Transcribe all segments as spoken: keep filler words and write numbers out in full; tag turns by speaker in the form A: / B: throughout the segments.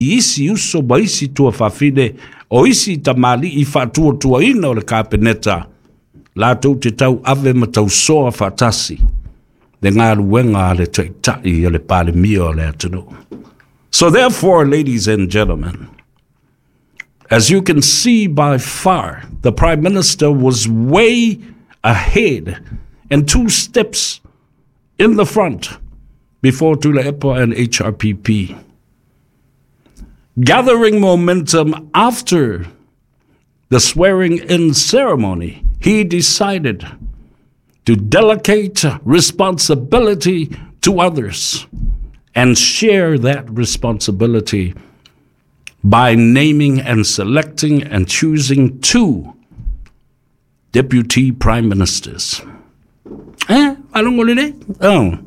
A: isi uso ma isi tuafafine o isi tamalii faatuatuaina o le Kapeneta latou te tauave ma tausoa faatasi le galuega a le Taitai o le Palemia o le atunuu. So therefore, ladies and gentlemen, as you can see by far, the Prime Minister was way ahead and two steps in the front before Tuilaepa and H R P P. Gathering momentum after the swearing-in ceremony, he decided to delegate responsibility to others and share that responsibility by naming and selecting and choosing two deputy prime ministers. Eh? Alongo lele? Oh.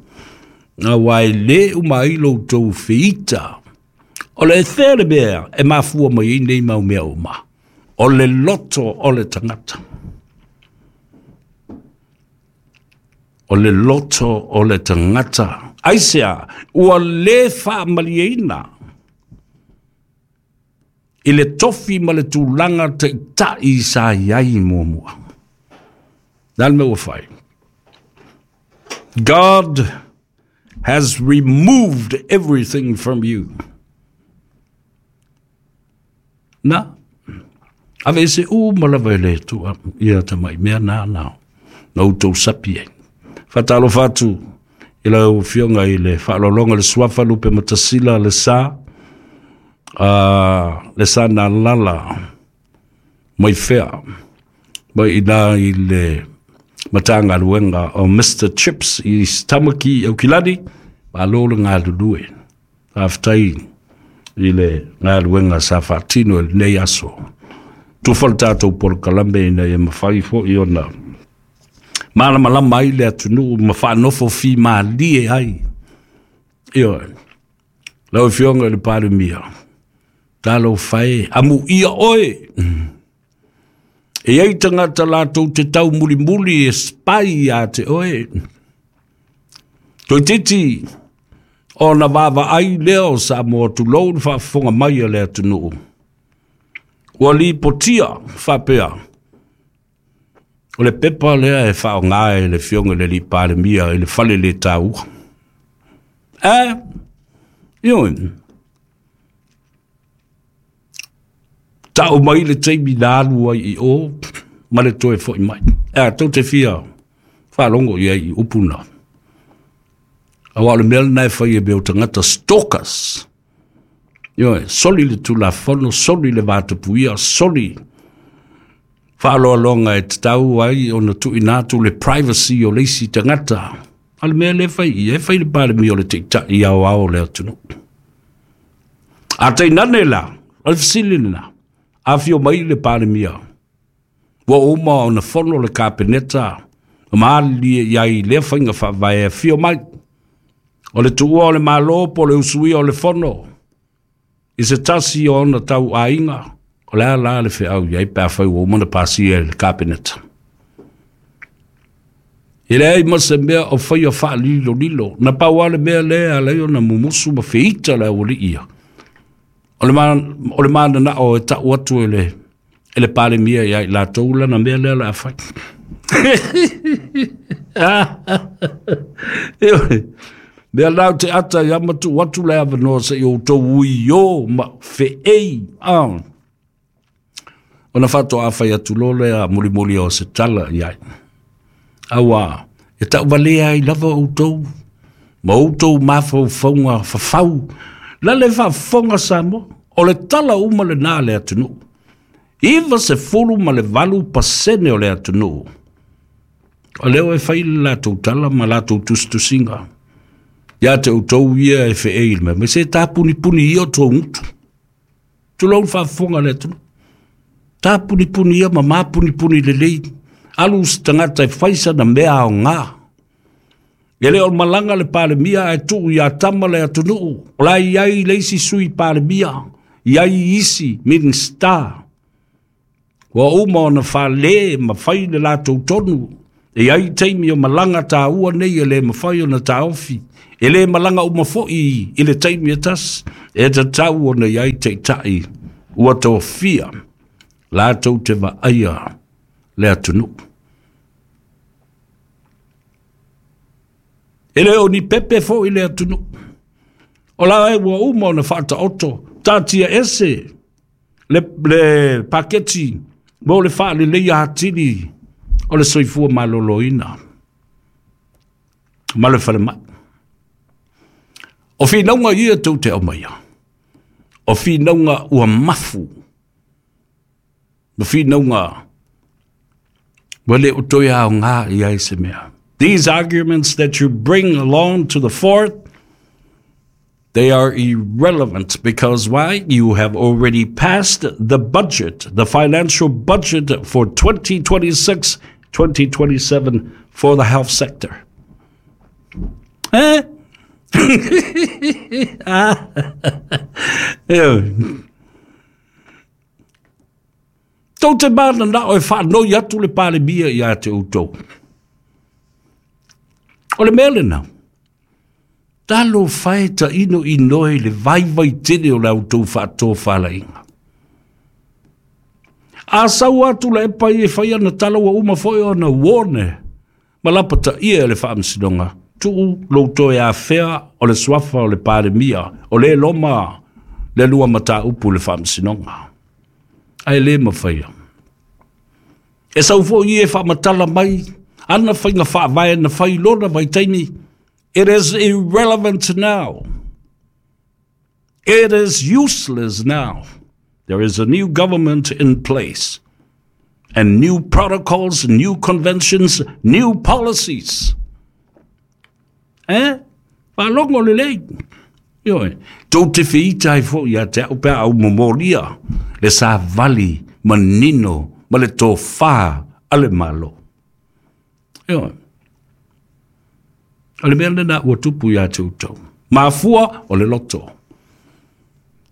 A: Na wai le umai lo tau feita. O le there mea e mafua mai nei mau mea uma. O le loto o le tangata. O le loto o le tangata. Aisea, ua le whaamalieina. I le tofi ma le tūlanga te tai sa iai mua mua. Nā le mea ua whai. God has removed everything from you. Na, ave se u malava le tua ia tamai mea nā nā. Na utou sapi e. Whatalo whatu i lau fionga i le whaalolonga le suafa lupe matasila le sa uh, le sa nā lala mai whea mai ina i le matanga luenga o Mister Chips i Tamaki au kilani ma lolo ngā lulue. Awhtai i le ngā luenga sa whaatino e nei aso. Tufal tātou polo kalambe ina e mawhai fo i ona. Malama ai le atunuu ma whaanofo fi maalie ai. Io, lau fionga le Palemia. Talo whae, amu ia oe. E ei tangata lātou te tau muli muli e spai a te oe. Toi titi, o na wawa ai leo sa mo tulou le whaafonga mai a le atunuu. Ua li potia whapea. O le pepa lea e whao ngā e le fionga le li Palemia e le fale le tau. E, ioin. Tau mai le teimi nā alua i o, ma le toe foi mai. E, tau te fia, whalongo ia i upuna. Awa o le mea lena e whai e mea o tangata stalkers. Ioe, soli le tulafono, soli le vatapuia, soli whaaloalonga e te tau ai o na tui nātu le privacy o leisi tangata. A le mea le whai i, e whai le Palemia o le teitai au ao le atunu. A teinane la, o le fasili lena, a whio mai le Palemia. Ua uma o na fono le kapeneta, o maali e iai lea whainga whaavae a whio mai. O le tuua o le malo po le usuia o le fono. I se tasi o ona tau ainga. O lea la le wheau iai pā whai o umana pāsia e le kapeneta. I lea i masa mea o whai o wha lilo lilo. Na pau ale mea lea lea o na mumusu ma whiita lea wali ia. O le o le mana na o e tau atu e le, e le Palemia iai la tōula na mea lea la whai. Mea lau te ata i amatu atu lea wanoa se i o tau ui o ma wheei. Ah. Ona whato a whai atu lole a muli muli o se tala iai. Awa, e tau walea i lava o tau. Ma o tau mawhau whaunga whawhau. Lale whawhonga Samoa. O le tala uma le nā le atunu. Iwa se fulu ma le valu pasene o le atunu. O leo e whai le lātou tala ma lātou tustusinga. Ia te utou ia e wheei me. Me se tāpuni puni ia tō ngutu. Tulau whawhonga le atunu. Tāpuni puni ia ma māpuni puni le lei. Alu tangata e whaisa na mea o ngā. E leo malanga le Palemia e tuu ia tama le atunuu. O la iai leisi sui Palemia. Iai isi minista. Ua uma ona whale ma whai le lātou tonu. E ai taimi o malaga tāua nei e le mafai ona taofi. E le malaga uma foi i le taimi e tasi. E tatau ona i ai taitai ua tofia latou te vaaia le atunuu. E le o ni pepe foi le atunuu. O la e ua uma ona faataoto, taatia ese le, le paketi mo le faaleleia atili o le soifua maloloina ma le falemai. O finauga ia tou te aumaia, o finauga ua mafu, ma finauga ua le o toe aoga i ai se mea. These arguments that you bring along to the fourth, they are irrelevant because why? You have already passed the budget, the financial budget for twenty twenty-six twenty twenty-seven for the health sector. Eh? Tou te mana na o e whaanoi atu le palemia ia te outou. O le mea lena, talo fae ta ino inoe le vaivai tele o le outou whaatō whalainga. A sau atu le epa i e whai ana tala ua uma foi ona uone, ma lapa ta ia le whaamsinonga, tuu louto e afea o le suafa o le palemia, o le loma le lua mata upu le whaamsinonga. Ai le mawhaia. E sau foi e whaamatala mai, ana whainga whaavae na whai lona vaitaimi. It is irrelevant now. It is useless now. There is a new government in place and new protocols, new conventions, new policies. Eh? Whalongo le lei. Ioe. Tō te whiita ai fo ia te au pea au momoria le sa vali manino ma le tō whā a le malo. Ioe. O le mea lena ua tupu ia te utou. Mafua o le loto.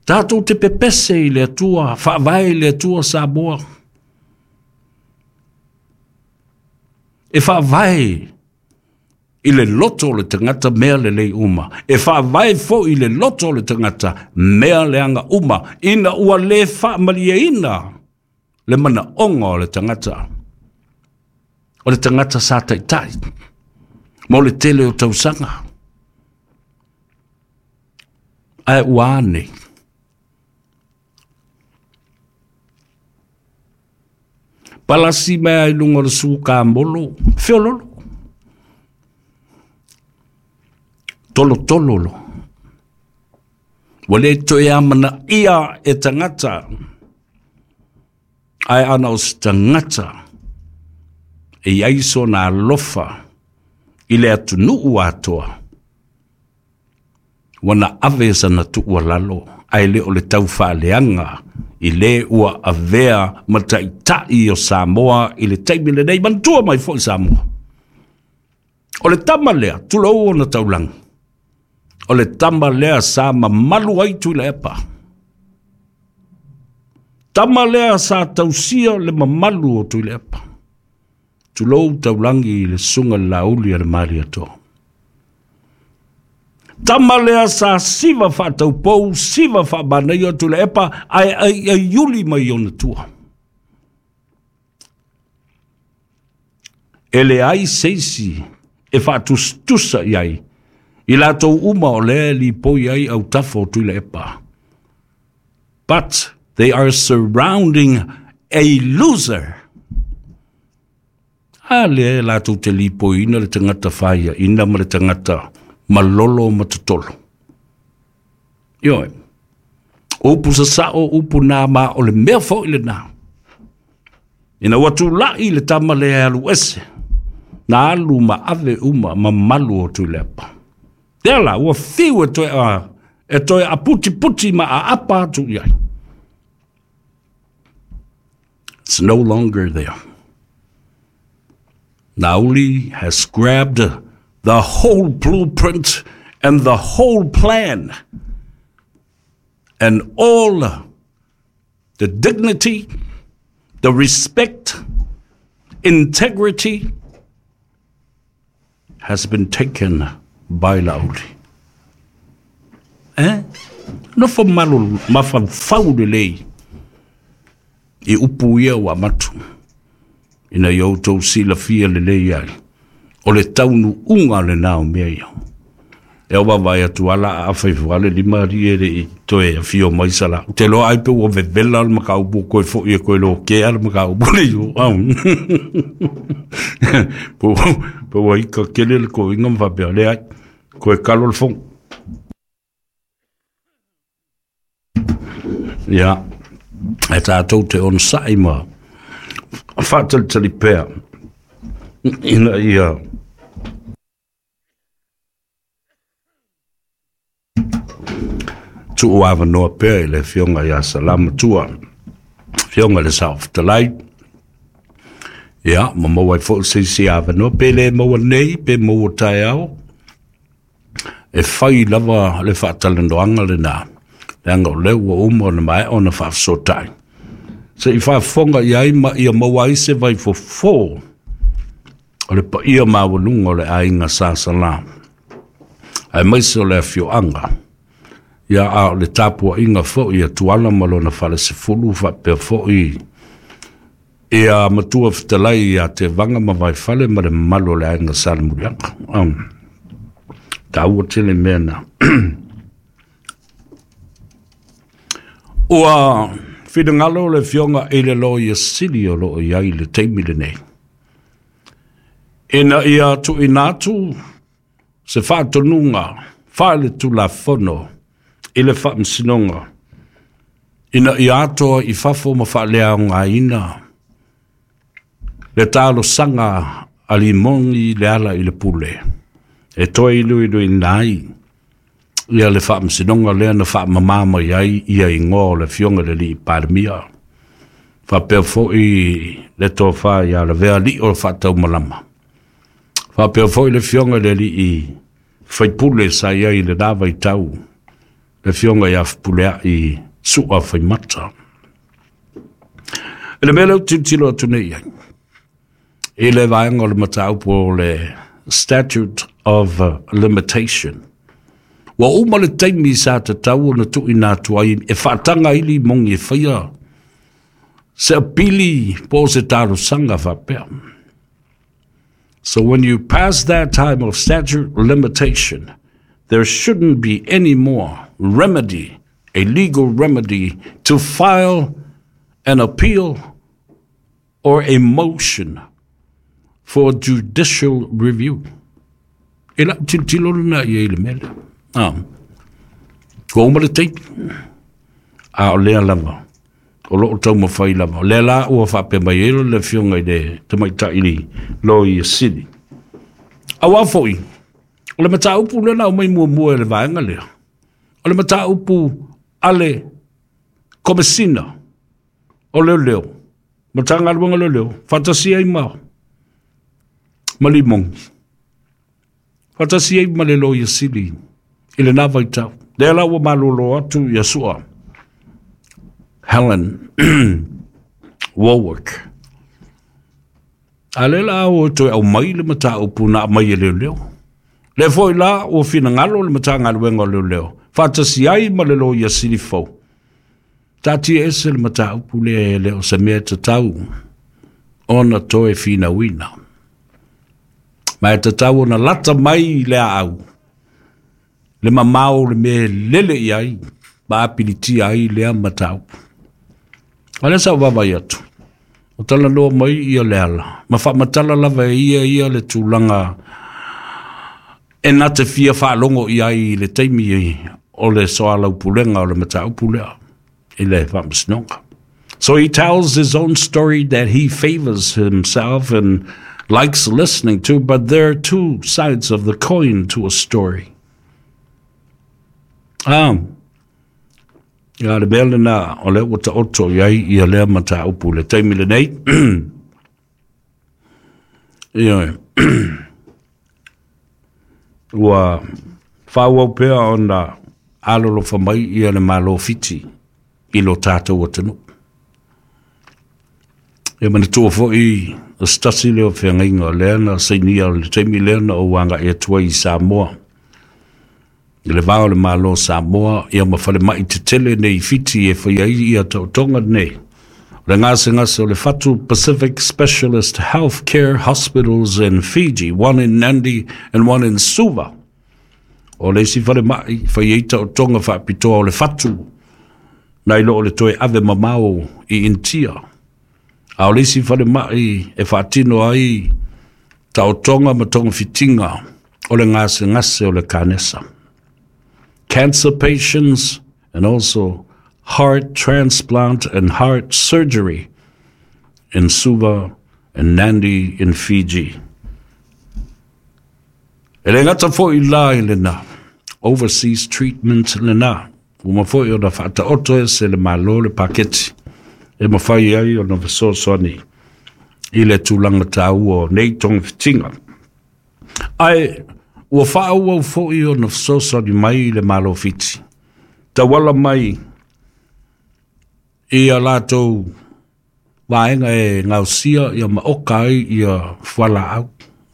A: Tātou te pepese i le atua, whaavae i le atua Samoa. E whaavae i le loto o le tangata mea le lei uma. E whaavae fo i le loto o le tangata mea le anga uma. Ina ua le whaamalia ina le mana onga o le tangata. O le tangata sa taitai. Mo le tele o tausanga. Ae ua ane. Palasi mea i lunga o le suka molo. Feololo. Tolo tolo lo. Ua le toe amana ia e tangata. Ae ana o se tangata. E aiso na alofa i le atunuu atoa. Wana ave sana tuua lalo. Ae le o le tau whaaleanga i le ua avea mataitai o Samoa i le taimi lenei mantua mai foi Samoa. O le tama lea, tulou ona taulanga. O le tama lea sa mamalu ai Tuilaepa. Tama lea sa tausia le mamalu o Tuilaepa. Tulou taulangi i le sunga lauli a le Malietoa. Tama lea sa siva whaataupou, siva whaamanaia o Tuilaepa, ai ai ai uli mai ona tua. E le ai seisi e whaatustusa i ai, i lātou uma o lea li poi ai au tafo o Tuilaepa. But they are surrounding a loser. A lea lātou te lipoi ina le tangata whaia, ina ma le tangata malolo matatolo. Ioe, upu sasao, upu nā ma o le mea fo i le nā. Ina watu lai le tama le alu ese, nā alu ma ave uma ma malu o Tuilaepa. Tea la, ua fiu e toe a, e toe a puti puti ma a apa atu iai. It's no longer there. Nauli has grabbed the whole blueprint and the whole plan and all the dignity, the respect, integrity, has been taken by Lauli. Eh? Nofo malo mafaufau lelei i upu ia ua matu ina ia outou silafia lelei ai o le taunuuga lenā o mea ia. E o vavae atu ala a faifua le lima ali e le i toe afio mai sala. Te loa ai pe ua vevela le makaupu koe fo'i e koe lokea le makaupu le iu au. Po pe ua ika kele le koiga ma faapea le ai koe kalo le fogo. Ia, e tātou te onosai ma faatalitali pea ina ia tuu avanoa pea i le afioga ia Salamatua, afioga i le Saofetalai. Ia, ma maua ai fo'i se isi avanoa, pe lē maua nei, pe maua taeao, e fai lava le faatalanoaga lenā, leaga o lea ua uma ona maea ona faafasotai. Se i faafofoga i ai ma ia maua ai se vaifofō o le paia maualuga o le aiga Sa Salā, aemaise o le afioaga ia a o le tapuaiga fo'i a Tuala ma lona falesefulu faapea fo'i ia matua fetalai ia Tevaga ma Vaifale ma le mamalu o le aiga Salemuliaga. Um, taua tele mea na. Ua finagalo le afioga i le Loia Sili o loo i ai le taimi lenei ina ia tuuina atu se faatonuga faale-tulafono i le faamasinoga ina ia atoa i fafo ma faaleaogaina le talosaga a Limoni le ala i le pule e toe iluiluina ai ia le faamasinoga lea na faamamā mai ai ia igoa o le afioga i le alii Palemia faapea fo'i le tofā ia Lavea alii o le faataumalama faapea fo'i le afioga i le alii faipule sa i ai i lenā vaitau le afioga ia Fepuleai Su'a Faimata. E le mea lea ou tilotilo atu nei ai i le vaega o le mataupu o le statute of limitation. Ua uma le taimi sa tatau ona tuuina atu ai e faataga ai Limoni e faia se apili po o se talosaga faapea. So when you pass that time of statute limitation, there shouldn't be any more remedy, a legal remedy, to file an appeal or a motion for judicial review. E lau tilotilo lena i ai i le mea lea. Ah. Ua uma le taimi. A o lea lava o loo taumafai lava. O lea la ua faapea mai ai le afioga i le tamaitai Loia Sili. Auā fo'i, o le mataupu lea na aumai muamua e le vaega lea, o le mataupu a le Komesina o Leoleo, Matagaluega o Leoleo, faatasi ai ma ma Limoni, faatasi ai ma le Loia Sili i lenā vaitau. Lea la ua malōlō atu ia Su'a Helen Warwick. A lea la ua toe aumai le mataupu na aumai e leoleo. Lea fo'i la ua finagalo le Matagaluega o Leoleo faatasi ai ma le Loia Sili fou, taatia ese le mataupu lea, e le o se mea tatau ona toe finauina. Ma e tatau ona lata mai le aau le mamao le mea e lele i ai ma apilitia ai lea mataupu. A lea sa ou vaavaai atu, o talanoa mai ia le ala ma faamatala lava e ia ia le tulaga e na te fia faalogo i ai i le taimi o le soalaupulega o le mataupu lea i le faamasinoga. So he tells his own story that he favors himself and likes listening to, but there are two sides of the coin to a story. Ah, ia le mea lenā o lea ua taoto i ai ia lea mataupu le taimi lenei. Ioe. Ua faaauau pea ona alolofa mai ia le Malo Fiti i lo tatou atunuu. E manatua fo'i o se tasi lea o feagaiga o lea na sainia o le taimi lea na ou aga'i atu ai i Samoa i le va o le Malo o Samoa ia ma falema'i tetele nei i Fiti e faia ai ia taotoga nei o le gasegase o le fatu. Pacific Specialist Healthcare Hospitals in Fiji, one in Nandi and one in Suva. O le isi falema'i fai ai taotoga faapitoa o le fatu nai lo o le toe ave mamao i Initia. A o le isi falema'i e faatino ai taotoga ma togafitiga o le gasegase o le kanesa. Cancer patients and also heart transplant and heart surgery in Suva and Nandi in Fiji. E le gata fo'i la i lena, overseas treatment lena, ua mafai ona faataoto e se le Malo le paketi e mafai ai ona fesoasoani i le tulaga taua o nei togafitiga. Ae ua faaauau fo'i ona fesoasoani mai i le Malo Fiti tauala mai ia latou vaega e gaosia ia ma oka ai ia fualaau.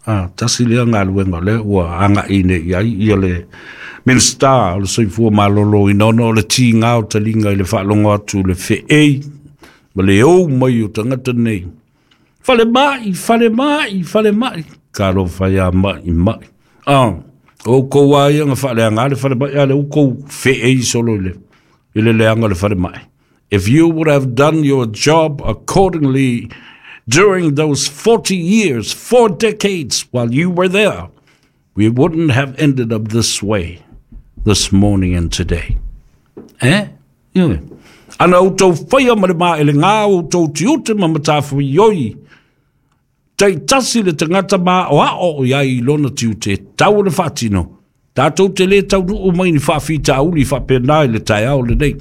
A: A tasi lea galuega o lea ua aga'i nei i ai ia le Minisita o le Soifua Maloloina, ona o le tigā o taliga i le faalogo atu le fe'ei ma le ou mai o tagata nei. Falema'i, falema'i, falema'i. Talofa iā ma'i ma'i. Ah, o outou lava ia na faaleaga le falema'i, a o lea ua outou fe'ei solo i le, i le leaga o le falema'i. If you would have done your job accordingly during those forty years, four decades while you were there, we wouldn't have ended up this way this morning and today. Eh? Yeah. Ana outou faia ma le maelegā o outou tiute ma matafaioi taitasi le tagata maoao i ai i lona tiute e tatau ona faatino, tatou te lē taunuu mai ni faafitauli faapena i le taeao lenei.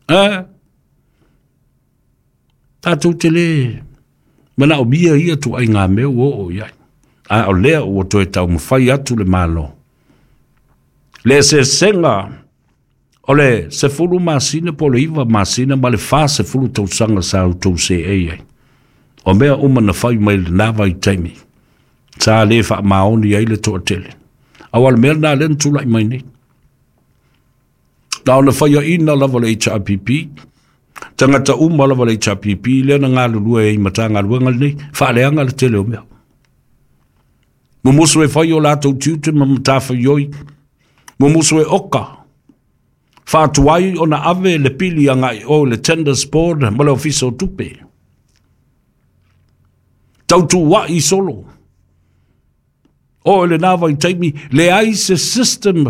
A: Eh? Tatou te lē manaomia ia tuaiga mea ua oo i ai. A o lea ua toe taumafai atu le Malo. Le eseesega o le sefulu masina po o le iva masina ma le fasefulu tausaga sa outou seei ai. O mea uma na fai mai lenā vaitaimi, sa lē faamaoni ai le toatele. Aua o le mea lenā lea na tula'i mai nei. Na ona faiaʻina lava le H R P P, tagata uma lava le H R P P lea na galulue ai i Matagaluega lenei, faaleaga le tele o mea. Mumusu e fai o latou tiute ma matafaioi, mumusu e oka, faatuai ona ave le pili agai o le Tenders Board ma le Ofisa o Tupe. Tautua'i solo. O lenā vaitaimi, leai se system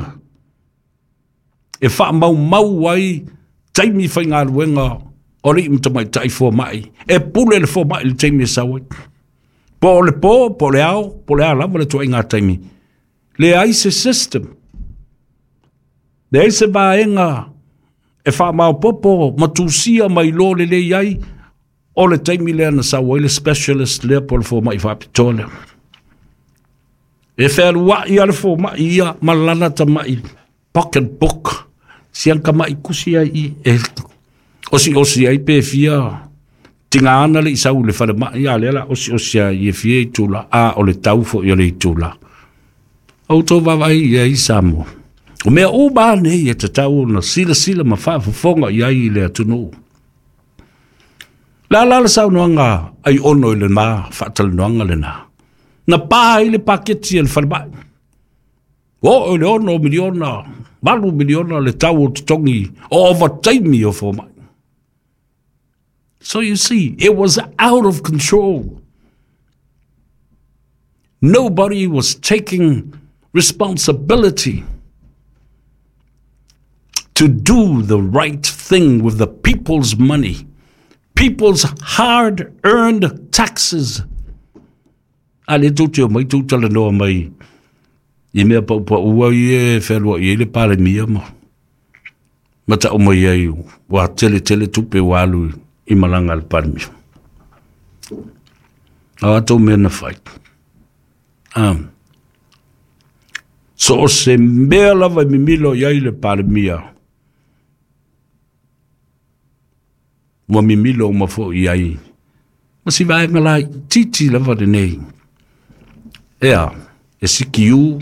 A: e faamaumau ai taimi faigaluega o alii ma tamaitai foma'i. E pule le foma'i i le taimi e sau ai. Po o le po, po o le ao, po o le a lava le tuaiga taimi. Leai se system. Leai se vaega e faamaopoopo ma tusia mai iloa lelei ai o le taimi lea na sau ai le specialist lea po o le foma'i faapitoa lea. E fealua'i a le foma'i ia ma lana tama'i pocket book, sian kama'i kusi ai i e osi'osi ai pe fia tiga ana le'i sau i le falema'i, a lea la osi'osi ai e fia itula, a o le tau fo'i o le itula. O outou vaavaai i ai Samoa. O mea uma lava nei e tatau ona silasila ma faafofoga i ai i le atunuu. Le a la le saunoaga ai ono i lenā faatalanoaga lenā? Na pa ai le paketi a le falema'i. Ua oo i le ono miliona, valu miliona le tau o totogi o ovataimi o fomai. So you see, it was out of control. Nobody was taking responsibility to do the right thing with the people's money, people's hard-earned taxes. A lea tou te omai tou talanoa mai i mea paupau ai e fealua'i ai le Palemia ma ma ta'u mai ai ua tele tele tupe ua alu i malaga a le Palemia. A o atou mea na fai. Um, so o se mea lava e mimilo i ai le Palemia, Ua mimilo uma fo'i ai ma si vaega laitiiti lava lenei. Ea, e sikiu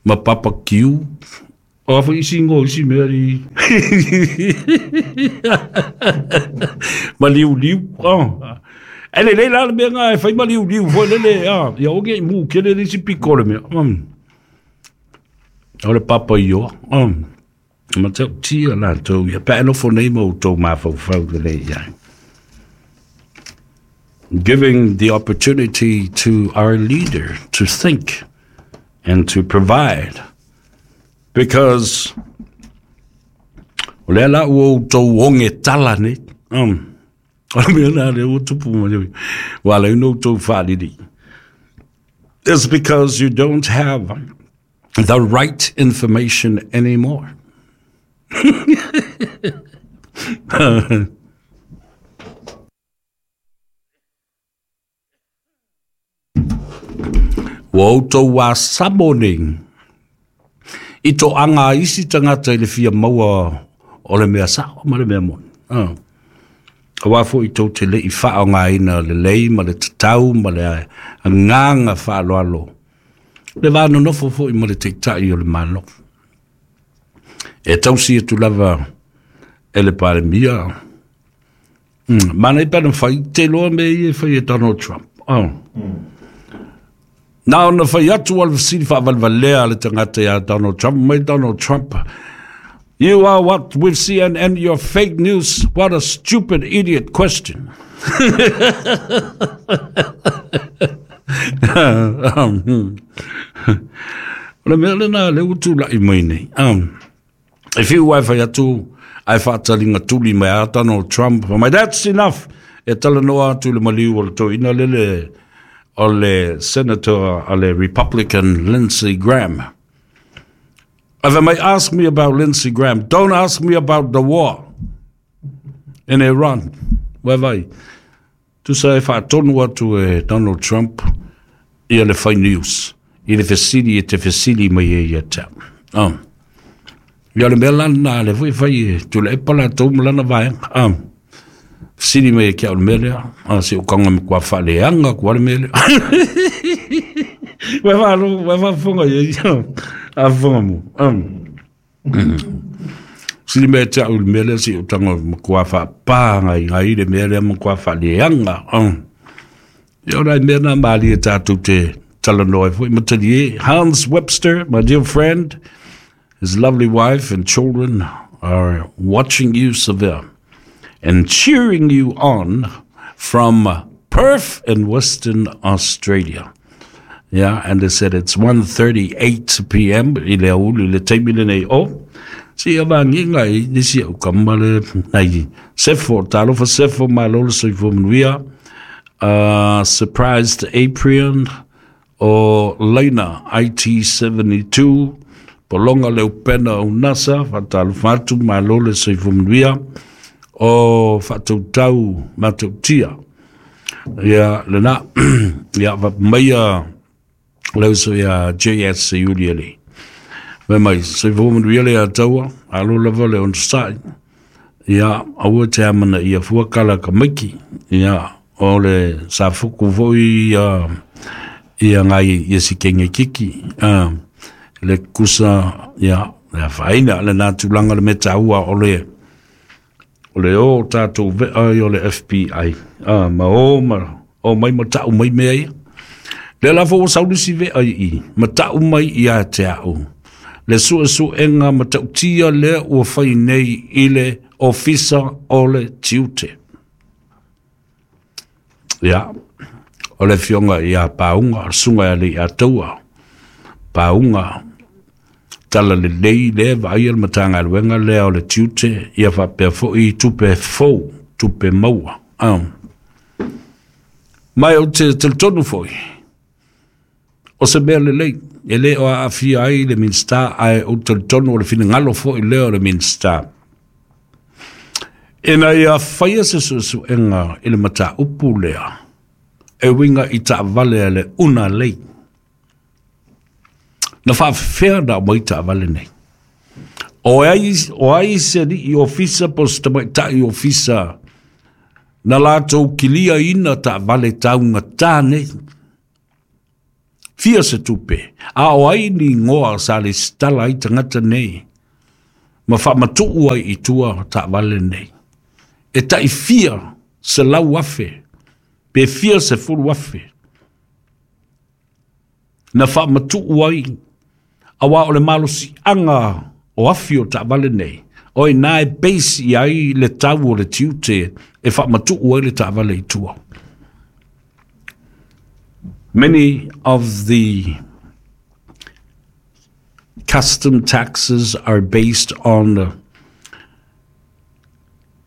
A: ma papa kiu. O a foi isi ngo isi mea li. Ma liu liu. Oh. E le le la le mea ngā e whai ma liu liu foi le le. Ah. Ia oge i mū kele le isi piko le mea. Um. O le papa i oa. Um. Ma tau tia la tau ia. Pa anofo nei mo tau mawhauwhau le le ia. Giving the opportunity to our leader to think and to provide. Because o lea la ua outou oge tala nei. Um, o le mea la lea ua tupu mai. Ua ala ai ona outou faalili. It's because you don't have the right information anymore. Ua outou asamo nei i to anga isi tagata i le fia maua o le mea sa'o ma le mea moni. Ah. Auā fo'i tou te le'i fa'aogāina lelei ma le tatau ma le agaga fa'aloalo le va nonofo fo'i ma le ta'ita'i o le Malo. E tausi atu lava e le Palemia. Mm. Mana i pena whai, te loa me i e whai e Donald Trump. Oh. Mm. Nā ona whai atu al fesili fa'avalvalea le tagata iā Donald Trump. Mai Donald Trump, you are what with C N N, your fake news. What a stupid idiot question. Um, o le mea lena le ua tula'i mai nei. Um, e fiu ai whai atu, ai whaatalinga tuli mai a Donald Trump. Mai, that's enough. E talanoa atu le maliu o le toina lele o le senator o le Republican Lindsey Graham. If they may ask me about Lindsey Graham, don't ask me about the war in Iran. Wai vai. Tusa e whaatonu atu e Donald Trump ia le fai news. I le fesili e te fesili mai e ia tau. Oh. Ia le mea lana le foi fai e tula e pala tau malana vaenga. Oh. Fesili mai e kia o le mea lea. Ah, se o kanga me kua whaaleanga kua le mea lea. Wai wha wai wha ia ia. A fonga mo. Um. Sili mea te au le mea lea si o tanga ma kua whaapānga i ngai le mea lea ma kua whaaleanga. Um. Ia ora mea nā maali e tātou te talanoa foi. Matali e. Hans Webster, my dear friend, his lovely wife and children are watching you, Seville, and cheering you on from Perth in Western Australia. Yeah, and they said it's one thirty-eight p m i le auli le taimi lenei o. Si ia vagiga i nisi au kama le nai sefo, talofa sefo malo le soifua manuia. Uh, surprised Aprian o Laina I T seventy-two, Polonga le upena o NASA, faatalofa atu malo le soifua manuia. O faatautau matautia. Ia lena, ia vapameia leu so ia J S Iuli ele. Mai mai, soifua manuia le ataua, alo lava le onosai. Ia, aua te amana ia fua kala ka maiki. Ia, o le safuku foi ia, ia ngai ia sikenge kiki. Uh, le kusa, ia, le whaina, le nā tūlanga le metaua o le, o le o tātou vea i o le F B I. Uh, ma o, ma, o mai matau mai mea ia. Le la fo o saulisi vea i, matau mai ia te au. Le sua suenga matautia le ua whai nei i le ofisa o le tiute. Ia, o le fionga ia paunga, sunga ia le ia taua. Paunga, tala le lei le vai al matanga luenga le o le tiute, ia whapea foi tupe fou, tupe maua. Um. Mai o te teltonu foi. O se mea lelei, e le o a afia ai le minsta, ai o teltonu o le finangalo foi le o le minsta. Ina ia whaia se suesuenga i le mata upu lea, e winga i ta vale le una lei. Na whaafea na mai ta vale nei. O ai, o ai se ali'i ofisa po o se tamaitai ofisa na latou kiliaina taavale taugatā nei. Fia se tupe, a o ai ni igoa sa lesitala ai tagata nei ma faamatuu ai i tua taavale nei. E tai fia selau afe, pe fia sefulu afe, na faamatuu ai, auā o le malosiaga o afi o taavale nei, o iná e base i ai le tau o le tiute e faamatuu ai le taavale i tua. Many of the custom taxes are based on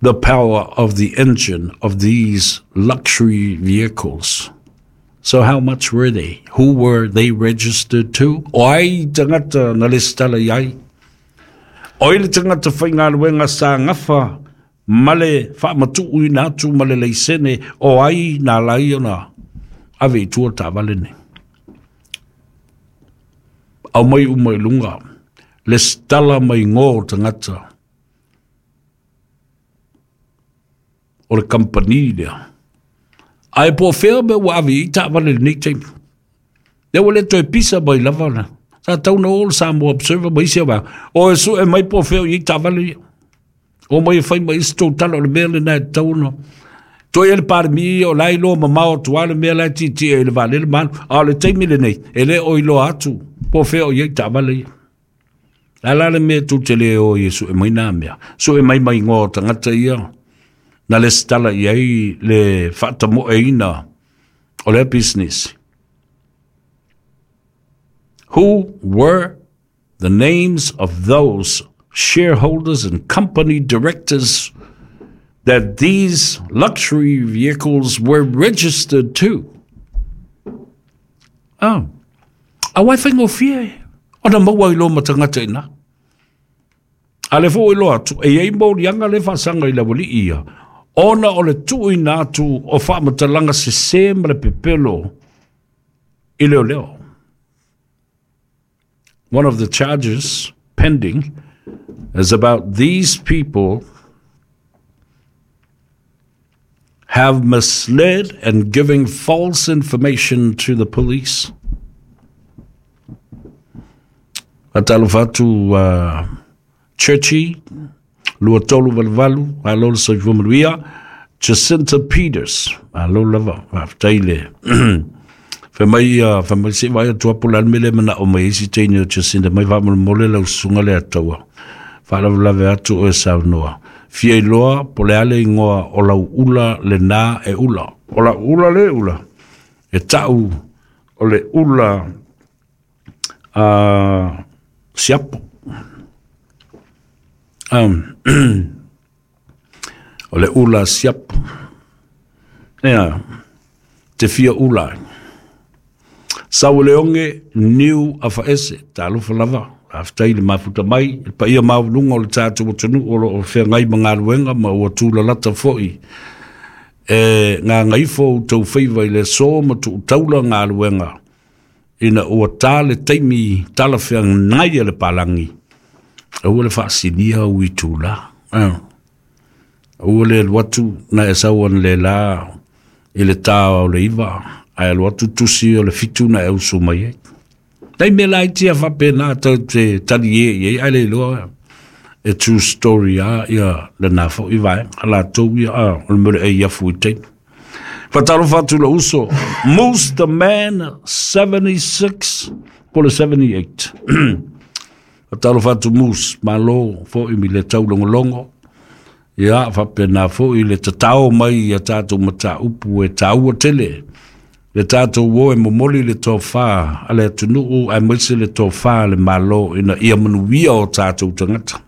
A: the power of the engine of these luxury vehicles. So how much were they? Who were they registered to? O ai tagata na lesitala i ai? O ai le tagata faigaluega sa gafa ma le faamatuuina atu ma le laisene o ai na ala ai ona ave i tua taavale nei? Aumai uma i luga lesitala ma igoa o tagata o le kamupani lea. Ae po o fea mea ua ave i ai taavale i lenei taimi. Lea ua le toe pisa mai lava na. Sa tau na o le Samoa Observer ma isi vaega. O e sue mai po o fea o i ai taavale ia. O mai e fai mai isi tou tala o le mea lena e tatau ona. Toe e le Palemia o la e iloa mamao atu lava le mea la e tietie i le vaalele ma alu. A o le taimi lenei, e le o iloa atu po o fea o i ai taavale ia. A la le mea tou te le o ai e sue mai nā mea. Sue mai ma igoa o tagata ia na lesitala i ai le faatamoeina o lea pisinisi. Who were the names of those shareholders and company directors that these luxury vehicles were registered to? Oh. Auā e faigofie ona maua ai loa ma tagata i ina. A le foi iloa atu, e i ai moliaga le faasaga i le aualii ia, ona o le tuuina atu o faamatalaga sesē ma le pepelo i leoleo. One of the charges pending is about these people have misled and giving false information to the police. Faatalofa atu uh, Churchy, lua tolu valu valu, malo le soifua manuia. Jacinta Peters, malo lava, faafetai le fai mai, uh, fai mai se i vaai atu lava po o le a le mea lea e manao mai ai si teine o Jacinta mai faamolemole lau susuga le Ataua. Faalavelave atu oe saunoa. Fia iloa po o le a le igoa o lau ula lenā e ula. O lau ula le ula e ta'u o le ula a siapo. Um, o le ula siapo. Ea, te fia ula ai. Saueleoge niu afaese, talofa lava, faafetai i le mafuta mai, i le paia maualuga o le tatou atunuu o lo o feagai ma galuega ma ua tulalata foi e gagaifo outou faiva i le aso ma tuutaula galuega ina ua ta le taimi talafeagai a le palagi. Aua le faasilia ou itulā. Aua le alu atu na e sau analeila i le tā o le iva, ae alu atu tusi o le fitu na e usu mai ai. Nai mea laiti a faapena tou te talie i ai, ae le iloa e true story a ia lena foi vaega a latou ia, a o le mea o le ei afu i taimi. Faatalofa atu lou uso, Moose the Man seventy-six po o le seventy-eight. Faatalofa atu Moose, malo foi mi le taulogologo. Ia, faapena foi le tatao mai i a tatou mataupu e taua tele. Le tatou o e momoli le tofa a le atunuu aemaise le tofa a le Malo ina ia manuia o tatou tagata.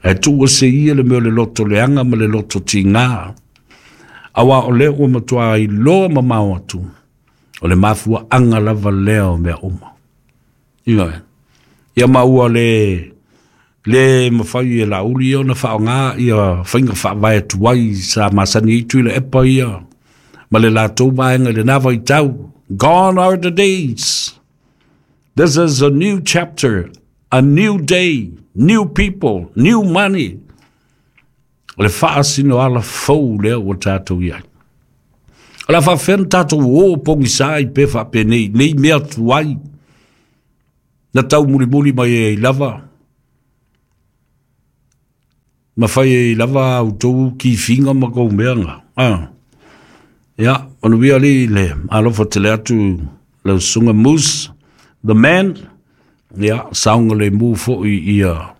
A: Ae tuu ese ia le mea o le loto leaga ma le loto tigā. Auā o lea ua matuā iloa mamao atu, o le mafuaaga lava lea o mea uma. Ioe. Ia ma ua le le mafai e Laauli ia ona faaaoga ia faiga faavae tuai sa masani ai Tuilaepa ia ma le latou vaega i lenā vaitau. Gone are the days. This is a new chapter, A new day, new people, new money. O le faasino ala fou lea ua tatou i ai. O le a faafefea ona tatou o pogisa ai pe faapenei nei mea tuai na taumulimuli mai ai lava ma fai ai lava a outou kifiga ma kou meaga. Ah. Ia, manuia alii le alofa tele atu lau susuga Moose, the man, ia, saogalemu foi ia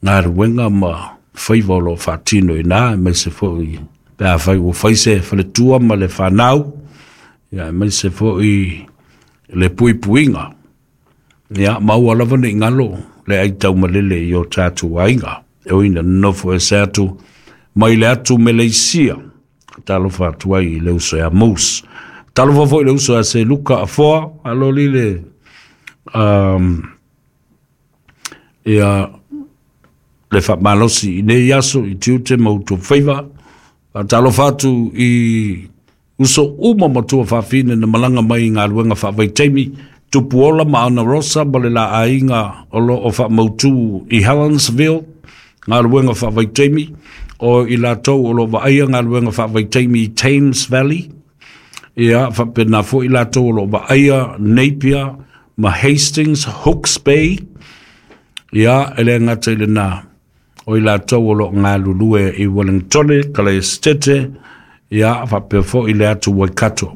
A: galuega ma faiva o lo o faatino i ina, aemaise foi pe afai ua fai se faletua ma le fanau, ia, aemaise foi le puipuiga. Ia, maua lava nei galo le aitaumalele i o tatou aiga, e ui ina nonofo ese atu mai le atu Meleisia. Talofa atu ai i le uso ia Moose. Talofa foi i le uso ia Seluka Afoa, aloli le um, ia le faamalosi i nei aso i tiute ma outou faiva. Faatalofa atu i uso uma matua faafine na malaga mai i galuega faavaitaimi, Tupuola ma Ana Rosa ma le la aiga o lo o faamautu i Helensville, galuega faavaitaimi, o i latou o lo o vaaia galuega faavaitaimi i Thames Valley, ia faapena foi i latou o lo o vaaia Napier ma Hastings, Hooks Bay, ia e le gata i lena, o i latou o lo o galulue i Wellingtone, Kalaesetete, ia faapea foi le atu Waikato.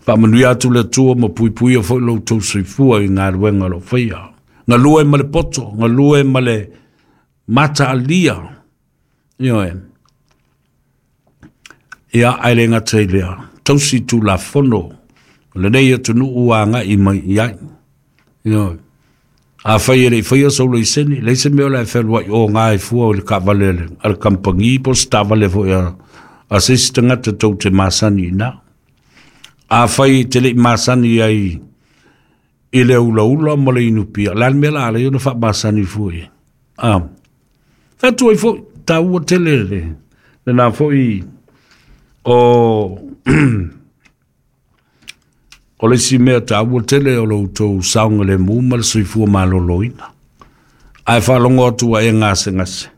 A: Faamanuia atu le Atua ma puipuia foi lo outou soifua i galuega o lo o faia. Galue ma le poto, galue ma le mataalia, ioe. Ia, ae le gata i lea, tausi tulafono o lenei atunuu ua agai mai i ai. Ioe. Afai e le i faia sou laisene, leai se mea o le a e fealuai o gā e fua o le taavale a le, a le kamupani po o se taavale foi a, a se isi tagata tou te masani i ina. Afai e te le i masani ai i le ulaula ma le inupia, o le a le mea la a ala ai ona faamasani fua i ai? Ah. Fai atu ai foi, taua tele le, lena foi o o le isi mea taua tele o lo outou saogalemu ma le soifua maloloina. Ae faalogo atu ua e gasegase,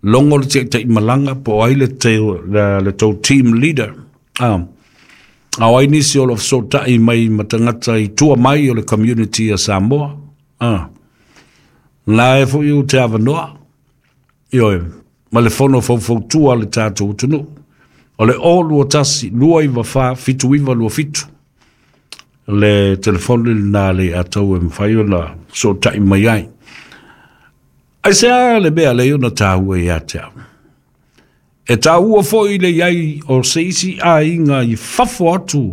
A: logo le taitaimalaga po o ai le, te, le, le tou team leader. Ah. A o ai nisi o lo o fesootai mai ma tagata i tua mai o le community a Samoa. Ah. La e foi ou te avanoa, ioe, ma le fono faufautua a le tatou atunuu. O le o lua tasi, lua iva fa, fitu iva lua fitu. Le telefoni lena le atau e mawhai ona fesootai mai ai. Aisea le mea lea ona taua ia te au? E taua foi le iai o se isi aiga i fafo atu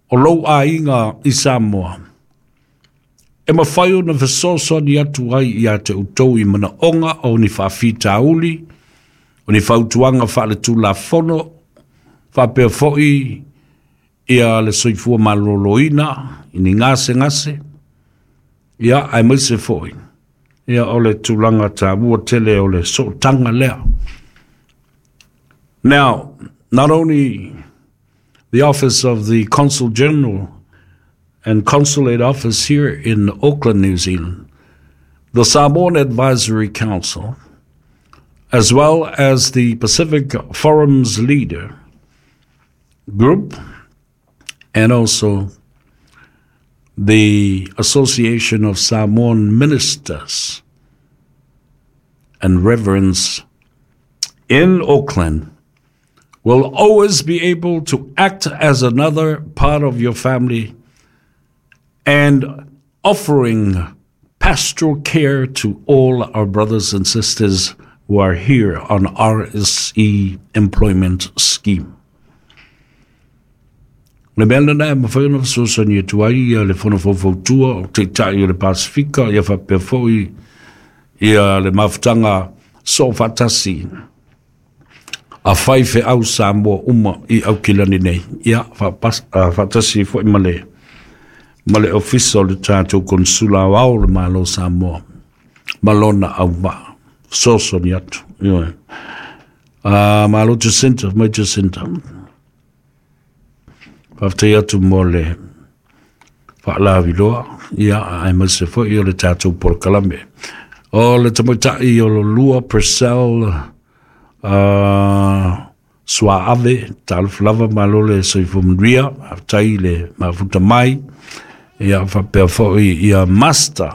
A: o lou aiga i Samoa. E mawhai ona fesoasoani atu ai ia te outou i manaoga o ni faafitauli, o ni fautuaga faaletulafono, faapea foi ia le soifua maloloina i ni gasegase, ia aemaise foi ia o le tulaga taua tele o le sootaga lea. Now, not only the office of the Consul General and Consulate Office here in Auckland, New Zealand, the Samoan Advisory Council, as well as the Pacific Forum's leader group, and also the Association of Samoan Ministers and Reverends in Auckland, will always be able to act as another part of your family and offering pastoral care to all our brothers and sisters who are here on R S E Employment Scheme. Le mea lena e mafai ona fesoasoani atu ai ia le fono faufautua o Taitai o le Pasifika, ia faapea foi ia le mafutaga soofaatasi a fai feau Samoa uma i Aukilani nei. Ia faatasi foi ma le ma le ofisa o le tatou konsula aoao o le Malo Samoa ma lona auvaa fesoasoani atu. Ioe. Ah, malo Jacinta, mai Jacinta. Faafetai atu mo le Faalaviloa ia aemaise foʻi o le tatou polokalame. O le tamaitai o lolua Purcell uh, Suaave, talofa lava, malo le soifua manuia, faafetai le mafuta mai. Ia faapea foʻi ia Master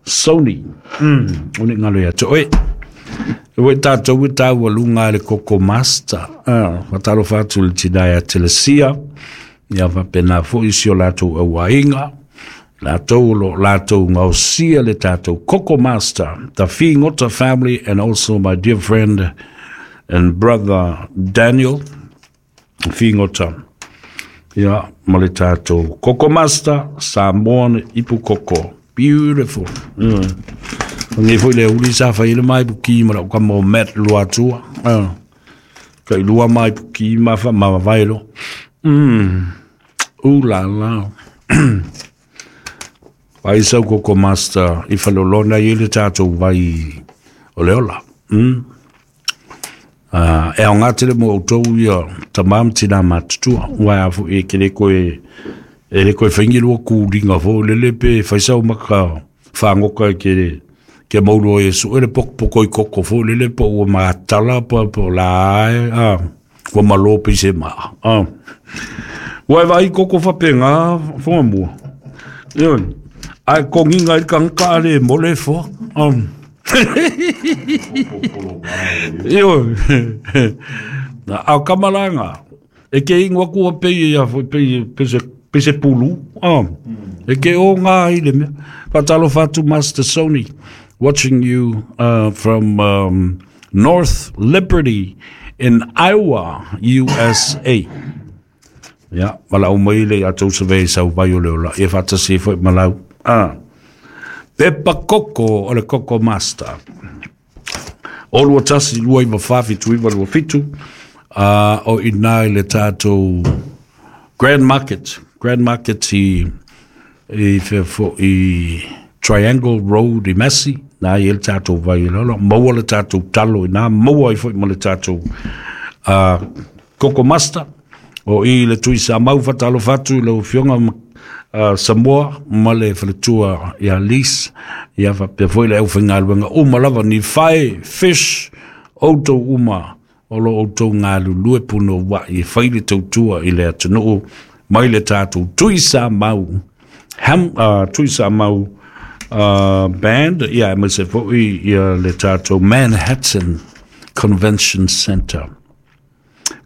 A: Sony, mm, o le galo ia te oe e ua tatou e taualuga le Koko Master. Ah, faatalofa atu le tinā ia Telesia, ia faapena foʻi si o latou auaiga latou o loo latou gaosia le tatou Koko Master, the Figota family, and also my dear friend and brother Daniel Figota, ia ma le tatou Koko Master Samoan ipu koko beautiful. mm. Ngai foi le uli sa fai le mai puki ma lau kama o Matt Luatua. Ah. Ka ilua mai puki ma fa ma vailo. Mm. Ula la. Vai sau Koko Master i falolona i le tātou vai o le ola. Mm. Uh, e ao ngā tele mo outou ia tamam tina matutua. Ua a fu e ke le koe e le koe whaingi lua kūringa fo lele pe whaisau maka whangoka e ke ke mauro e su ele poko poko i koko fo lele po ua matala po po la a ua malo pe se ma a ua e vai koko whapenga whonga mua Io ai konginga i kangka ale mole fo. Um. Io na au kamalanga e ke ingoa kua pe ia fo pe pe se pe se pulu. Um. E ke o ngā i le mea. Fatalofa atu Master Sony, watching you uh, from um, North Liberty in Iowa, U S A. Ia, malau mai le atou save sau vai o le ola. Ia faatasi foi malau. Ah. Pepa koko o le Koko Master. O lua tasi lua iwa wha fitu iwa lua fitu. Uh, o ina i le tātou Grand Market. Grand Market i, i, i, i Triangle Road i Massey. Nā i le tātou vai le ola. Maua le tātou talo i nā. Maua i foi ma le tātou uh, Koko Master. O i le tui sa mau fatalofa atu i lau afioga uh, Samoa ma le faletua ia Lis. Ia faapea foi le aufaigaluega uma lava ni fae fish outou uma o lo outou galulue punouaʻi e fai le tautua i le atunuu mai le tatou tui sa mau ham uh, tui sa mau uh, band ia aemaise foʻi ia le tatou Manhattan Convention Center.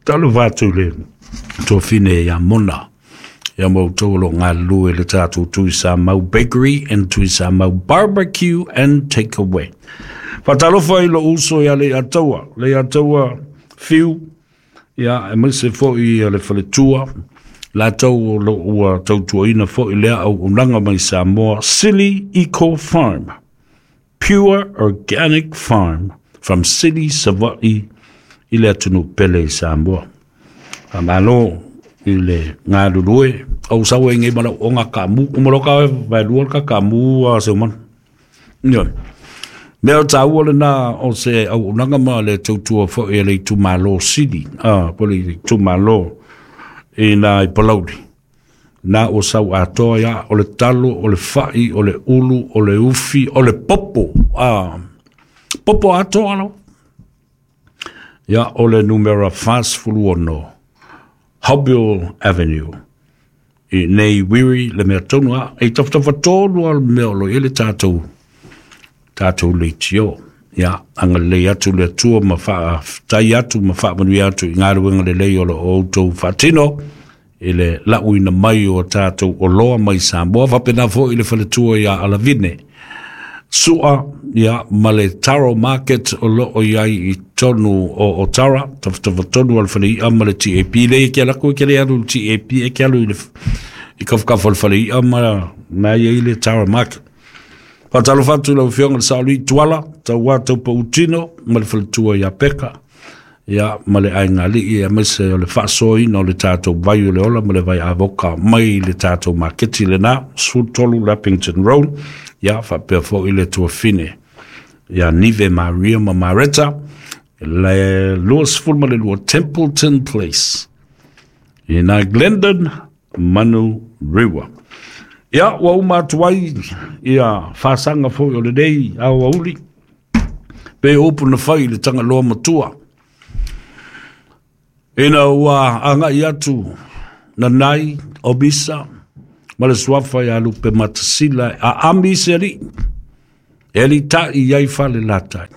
A: Talofa atu le tofine ia Mona ia moutou o loo galulue le tatou Tui Sa Mau Bakery and Tui Sa Mau Barbecue and Takeaway. Faatalofa i lou uso ia le Ataua, le Ataua Fiu, ia aemaise foʻi ia le faletua, latou o loo ua tautuaina foʻi lea auaunaga mai Samoa, Sili Eco Farm, Pure Organic Farm from Sili Savaʻi i le atunuu pele i Samoa. Malo i le galulue au sau e ngai malau onga kamu umaloka vai lua ka kamu a se man. Io. Mea tāua le nā o se auaunaga ma le tautua foʻi e le itumālō Sili, ah, po le itumālō i nā i Palauli. Nā o sau atoa ia, o le talo, o le faʻi, o le ulu, o le ufi, o le popo, ah, popo atoa lau. Ia, o le numera fasfulu ono, Hobbill Avenue. I nei wiri le mea tonu a, e tafatafa tonu a le mea o lo i le tātou, tātou leitio. Ia, anga lei atu le atua ma wha tai atu ma wha manui atu i ngā ruenga le lei o lo o outou whaatino i le lauina mai o tātou o loa mai Samoa. Whapena fo i le whaletua ia Alavine. Sua, ia, ma le Taro Market o lo o iai i tonu o o Tara, tafatafa tonu al whale ia ma le T A P. Le e ke alako e ke le alu T A P e ke alu i le i kafakafa o le whale ia ma na ia i le Taro Market. Fatalofa atu lau afioga le Saolii Tuala, tauā taupautino ma le faletua ia Peka, ia ma le aigalii aemaise o le faasoaina o le tatou vai o le ola ma le vai avoka mai le tatou maketi lenā, sefulutolu Lappington Road, ia faapea foʻi le tuafine ia Nive Maria ma Mareta, le luasefulu ma le lua Templeton Place, i nā Glendon Manurewa. Ia, ua uma atu ai ia fasaga foi o lenei aoauli, pe upu na fai i le Tagaloa matua. Ina ua agai atu Nanai o Misa ma le suafa ia Lupe Matasila a ami se alii, e alii i ai fale latai.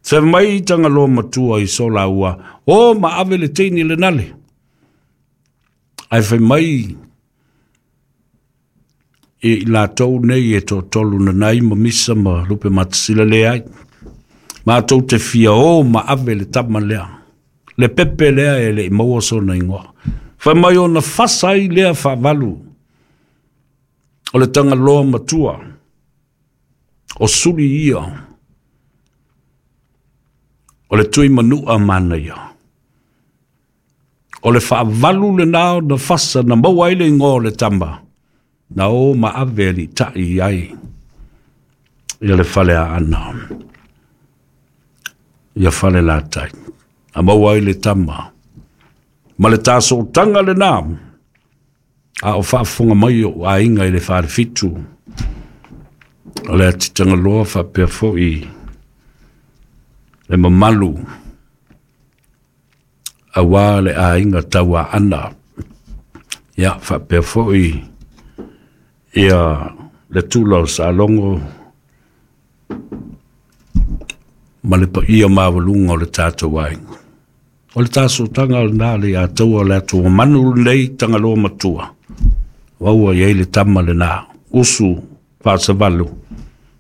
A: Se mai Tagaloa matua i so laua, o ma ave le teini le nale. Ai fai mai e i latou nei e tōtolu Nanai ma Misa ma Lupe Matasila le ai. Mātou te fia o ma ave le tama lea. Le pepe lea e le i maua sona ingoa. Fai mai ona fasa ai lea faavalu o le Tagaloa matua o suli ia o le tui manua manaia. O le faavalu le nao na fasa na maua ai le ingoa o le tama na o ma ave ali tai ai ia le fale a ana ia fale latai. A maua ai le tama ma le tasotaga lenā a o faafofoga mai o aiga i le falefitu o le atitagaloa faapea foʻi le mamalu auā le aiga tauaana ia faapea foʻi ia le tula o Salogo ma le paia maualuga o le tatou aiga. O le tasotaga lenā le ia taua o le atu manu lenei Tagaloa matua ua i ai le tama lenā usu faasavalu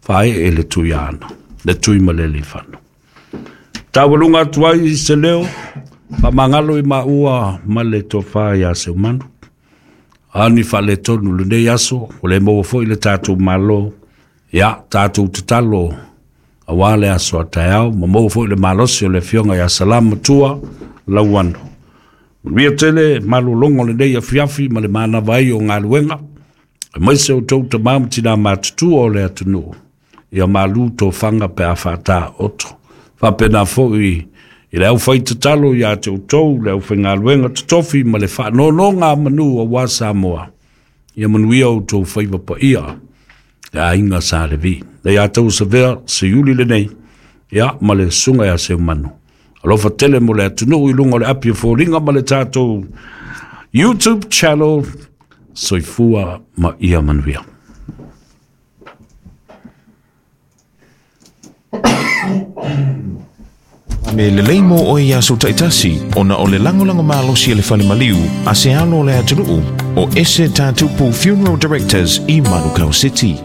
A: faaee le tuiaana le tui ma le alifano. Taualuga atu ai se leo faamagalo i maua ma le tofā iā Seumanu. Ani faaletonu lenei aso o le maua foi le tatou malo ia tatou tatalo auā le aso a taeao ma maua foi le malosi o le afioga ia Salama Matua Lauano. Manuia tele malologa o lenei afiafi ma le manava ai o galuega aemaise outou tamā ma tinā matutua o le atunuu ia malu tofaga pe a faatā oto. Faapena foi i le aufai tatalo iā te outou le aufaigaluega totofi ma le faanonoga manu auā Samoa ia manuia outou faiva paia le aiga Sa Levi. Le ia tau savea se iuli lenei ia ma le susuga ia Seumanu. Alofa tele mo le atunuu i luga o le api o foliga ma le tatou YouTube channel. Soifua ma ia manuia.
B: Me lelei mo oe ia aso taitasi, ona o le lagolago malosi e le fale maliu, a se alo o le atunuu, o Ese Tatupu Funeral Directors i Manukau City.